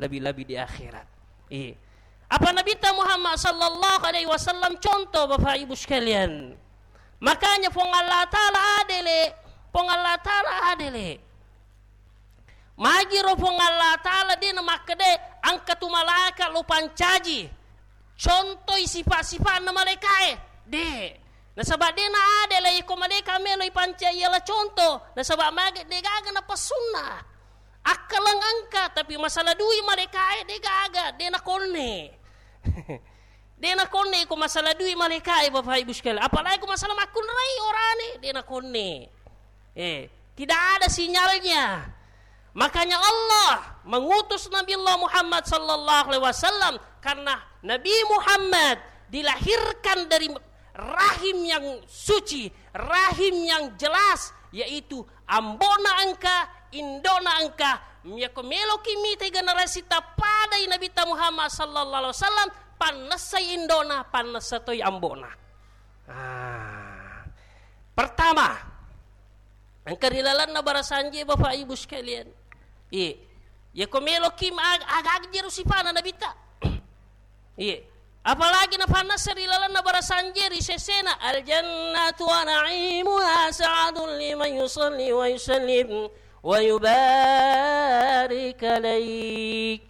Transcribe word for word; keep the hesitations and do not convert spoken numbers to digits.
lebih-lebih di akhirat. Iya. Apa Nabitta Muhammad sallallahu alaihi wasallam contoh, Bapak Ibu sekalian. Makanya Puang Allah Ta'ala adele, Puang Allah Ta'ala adele. Magiro Puang Allah Ta'ala de' namakkeda, engka tu malaika lo pancaji, contoi sipa'-sipa'na malaikae. De'. Nasaba' de' naadele iko malaika melo ipancaji yala contoh. Nasaba' mage de' gaga napassunna. Akkaleng engka, tapi masalah dui malaikae de' gaga, de' nakonne. De' nakonne ko masalah dui malaikae, Bapak Ibu sekalian. Apalagi ko masalah makkunrai orane, de' nakonne. Eh, tidak ada sinyalnya. Makanya Allah mengutus Nabi Allah Muhammad sallallahu alaihi wasallam karena Nabi Muhammad dilahirkan dari rahim yang suci, rahim yang jelas, yaitu ambo'na engka, indo'na engka. Miyako meloki mita generasi tapadai Nabitta Muhammad sallallahu alaihi wasallam, pannessai indo'na, pannessa toi ambo'na. Ah. Pertama, engka ri lalenna barasanje, Bapak Ibu sekalian. Iya. Yako meloki ma-, aga-, aga jero sipana Nabitta. Iya. Apalagi napannessa ri lalenna barasanje ri sesena, "Al jannatu wa na'imuha sa'adun liman yusalli wa yusallim wa yubarik alaik."